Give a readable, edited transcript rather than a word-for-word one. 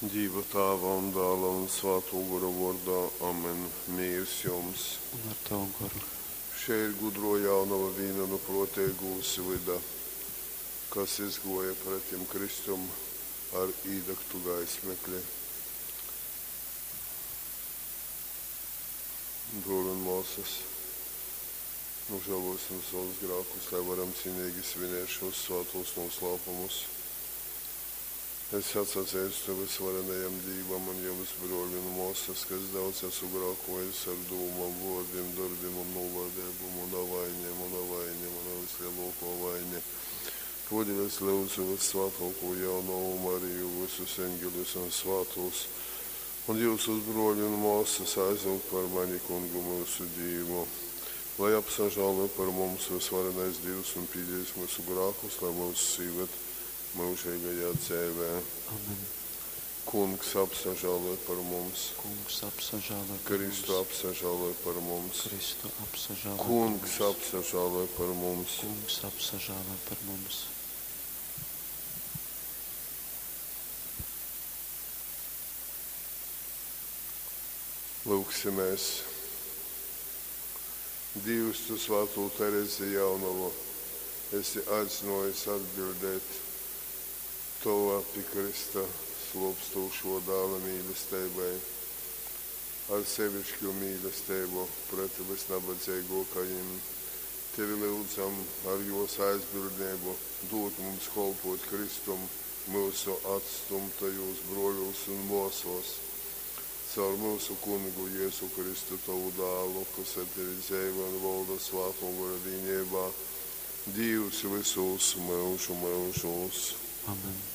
Dīva Tāva un Dāla un Svātō Gora vōrdā. Amen. Mīrs jums! Un ar tavu goru. Šei ir gudrō jaunova vīna nu prōteigūs vyda, kas izgōja pretim Kristum ar īdagtu gaismekli. Brōli un mōsas, nožēlosim savus grākus, lai varam cienīgi svinēt šos svātos noslēpumus. Es atsazeistu vysvarenajam Dīvam un jums, brōļi un mōsas, ka es daudz esmu grākojis ar dūmom, vōrdim, dorbim un nūlaideibu. Muna vaine, muna vaine, muna vislielākā vaine. Todēļ es lyudzu vyssvātōkū jaunovu Mariju, vysus eņgeļus un svātūs, un jyusus, brōļi un mōsas, aizlyugt par mani Kungu myusu Dīvu. Lai apsažāloj par mums vysvarenais Dīvs un pīdīs myusu grākus, lai mūs īved myužīgajā dzeivē. Amen. Kungs apsažāloj par mums. Kungs apsažāloj par Kristu mums. apsažāloj par mums. Kristu apsažāloj par Kungs mums. apsažāloj par mums. Kungs apsažāloj par mums. Lūgsimies. Dievs, tu svātū Terezi jaunavu esi aicinājis atbildēt tava pi Krista slōpstošo dāla mīlestībai, ar sevišķu mīlestību pret visnabadzīgākajiem. Tevi lūdzam ar jos aizbildnību dot mums kolpot Kristum mūsu atstumtajos broļos un māsos. Caur mūsu kungu Jēzu Kristu tavu dālu, kas ar tevi dzeivo un valda svāto gora vienībā, Dievs visos mūžu mūžos. Amen.